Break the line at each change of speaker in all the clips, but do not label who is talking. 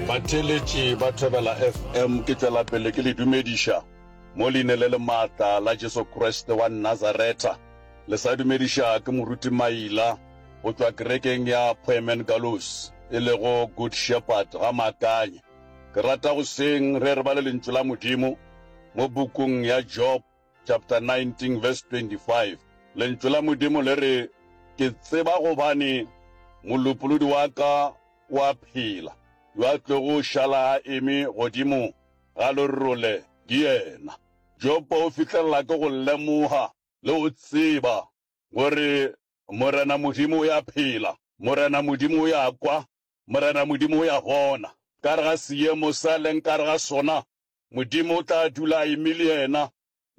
Batheeletši ba Thobela FM, ke tšwela pele ke le dumediša mo leine le le maatla la Jesu Kriste wa Nazaretha. Le sa dumediša ke Moruti Maila go tšwa kerekeng ya Poemen Gallows e lego Good Shepherd ga Makanye. Ke rata goseng re re bale Lentšu la Modimo mo bukung ya Job chapter 19 verse 25. Lentšu la Modimo le re, Ke tseba gobane Molopolodi wa ka o a phela, yo a tlogo šala a eme godimo ga lerole ke yena. Jobo o fihlelela ke go lemoga le go tseba gore Morena Modimo o ya phela, Morena Modimo o ya kwa, Morena Modimo o ya bona. Ka gare ga seemo se a leng ka gare ga sona, Modimo o tla dula a eme le yena.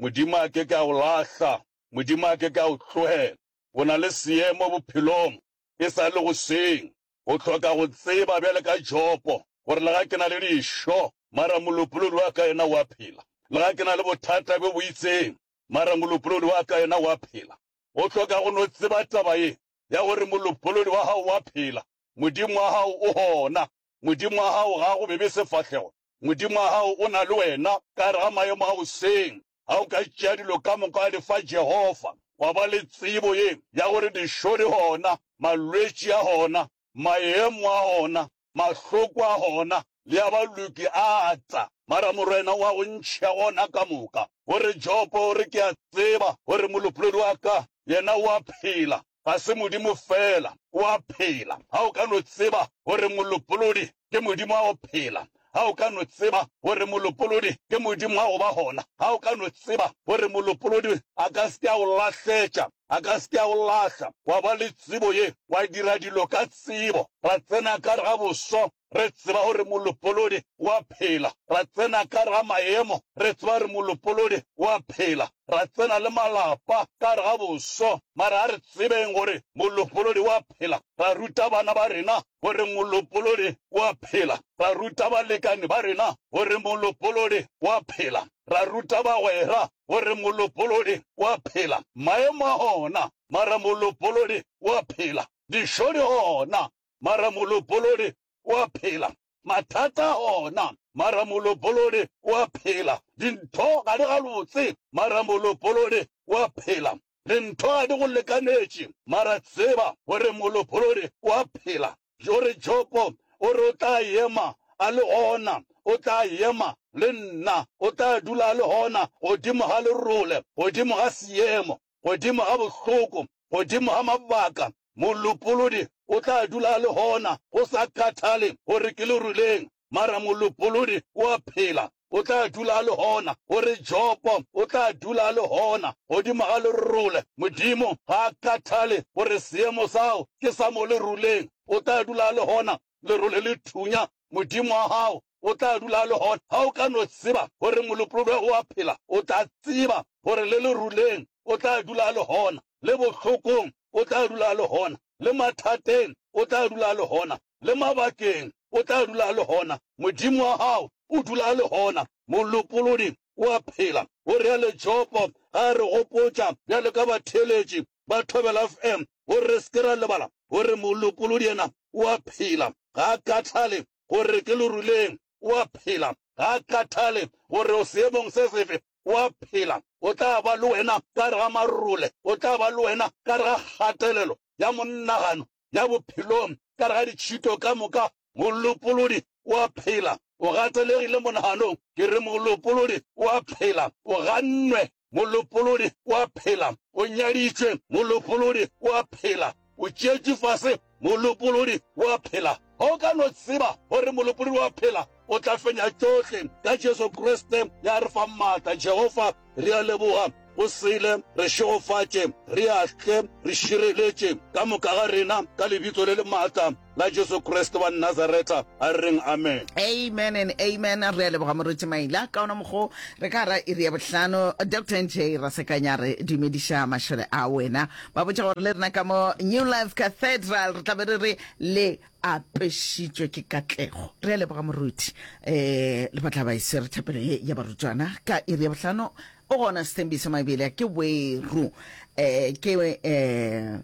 Modimo a ke ke a o lahla, Modimo a ke ke a o tlogela. O na le seemo bophelong e sa le goseng. O hloka go tseba bjale ka Jobo gore le ga ke na le dišo, mara Molopolodi wa ka yena o a phela. Le ga ke na le bothata bjo bo itseng, mara Molopolodi wa ka yena o a phela. O hloka go no tseba taba ye ya gore Molopolodi wa gago o a phela, Modimo wa gago o gona, Modimo wa gago ga a go bebe sefahlego, Modimo wa gago o na le wena ka gare ga maemo a goseng. Ga o ka tšea dilo ka moka wa di fa Jehofa, wa ba le tsebo ye ya gore dišo di gona, malwetši a gona, maemo a gona, mahloko a gona, le a baloki a ata, mara Morena o a go ntšha gona ka moka. O re, Jobo o re, Ke a tseba gore Molopolodi wa ka yena o a phela, Ga se Modimo feela, o a phela. Ga o ka no tseba gore Molopolodi ke Modimo wa go phela, ga o ka no tseba gore Molopolodi ke Modimo wa go ba gona, ga o ka no tseba gore Molopolodi a ka se ke a go lahletša, a ka se ke a go lahla, wa ba le tsebo ye, wa dira dilo ka tsebo, ra tsena ka gare ga boso re tseba gore Molopolodi o a phela, ra tsena ka gare ga maemo re tseba gore Molopolodi o a phela, ra tsena le malapa ka gare ga boso, mara a re tsebeng gore Molopolodi o a phela, ra ruta bana ba rena gore Molopolodi o a phela, ra ruta balekane ba rena gore Molopolodi o a phela, ra ruta bagwera gore Molopolodi o a phela. Maemo a gona, mara Molopolodi o a phela. Dišo di gona, Mara molopolodi o a phela. Mathata a gona, mara molopolodi o a phela. Dintho ga di galotse, mara molopolodi o a phela. Dintho ga di go lekanetše, mara tseba gore molopolodi o a phela. O re Jobo o re o tla ema a le gona, o tla ema le nna, o tla dula a le gona godimo ga lerole, godimo ga seemo, godimo ga bohloko, godimo ga mabaka, Molopolodi o tla dula a le gona, go sa kgathale gore ke leroleng, mara Molopolodi o a phela, o tla dula a le gona, gore Jobo o tla dula a le gona godimo ga lerole. Modimo ga a kgathale gore seemo sa gago ke sa mo leroleng, o tla dula a le gona, lerole le thunya, Modimo wa gago o tla dula a le gona. Ga o ka no tseba gore Molopolodi wa gago o a phela, o tla tseba gore le leroleng o tla dula a le gona. Le bohlokong o tla dula a le gona, le mathateng o tla dula a le gona, le mabakeng o tla dula a le gona. Modimo wa gago o dula a le gona, Molopolodi o a phela. O realo Jobo ge a re gopotša bjalo ka batheeletši ba Thobela FM gore re se ke ra lebala gore Molopolodi yena o a phela, ga a kathale gore ke leruleng, o a phela, ga a kathale gore o seemong se sefe, O a phela, o tla ba le wena ka gare ga marole, o tla ba le wena ka gare ga kgatelelo ya monagano ya bophelong, ka gare ga ditšhito ka moka. Molopolodi o a phela, o gatelegile monaganong. Ke re Molopolodi o a phela, o gannwe. Molopolodi o a phela, o nyaditšwe. Molopolodi o a phela, o tšeetšwe fase. Molopolodi o a phela. Ge o ka no tseba gore Molopolodi o a phela, o tla fenya tšohle ka Jesu Kriste ya re fang maatla. Jehofa, re a leboga go sele, re šegofatše, re ahle, re šireletše ka moka ga rena ka Lebitso le le maatla la Jesu Kriste wa Nazaretha. A re reng amen.
Amen and amen. Re a leboga Moruti Maila. Ka ona mokgo re ka ra iri ya bohlano. Dr. NJ Rasekanya re dumediša mašole a wena. Ba botša gore le rena ka mo New Life Cathedral re tla be re re le apešitšwe ke katlego. Re a leboga Moruti. Eh le batla ba e swere thapelo ye ya barutwana ka iri ya bohlano. O gona Sthembiso Mabele ke weru. Eh ke eh.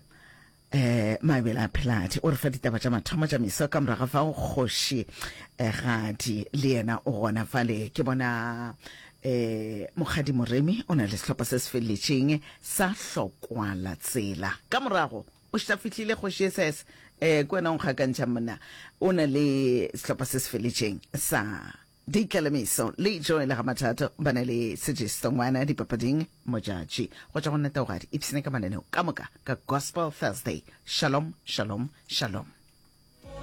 Eh, Mabela Pheladi o re fa ditaba tša mathomo tša meso ka morago fao kgoši eh, Gadi le yena o gona fale. Ke bona eh, Mokgadi Moremi o na le sehlopha se se feleletšeng sa Hlokwala Tsela. Ka morago o šetša fihlile kgoši SS eh, ke wena o nkgakantšha monna o na le sehlopha se se feletšeng sa Ditlalemeso le Joy le ga Mathato ba na le Sejestongwana dipapading Modjadji. Go tšwa go nna Taugadi, ipshine ka mananeo ka moka ka Gospel Thursday. Shalom, shalom, shalom.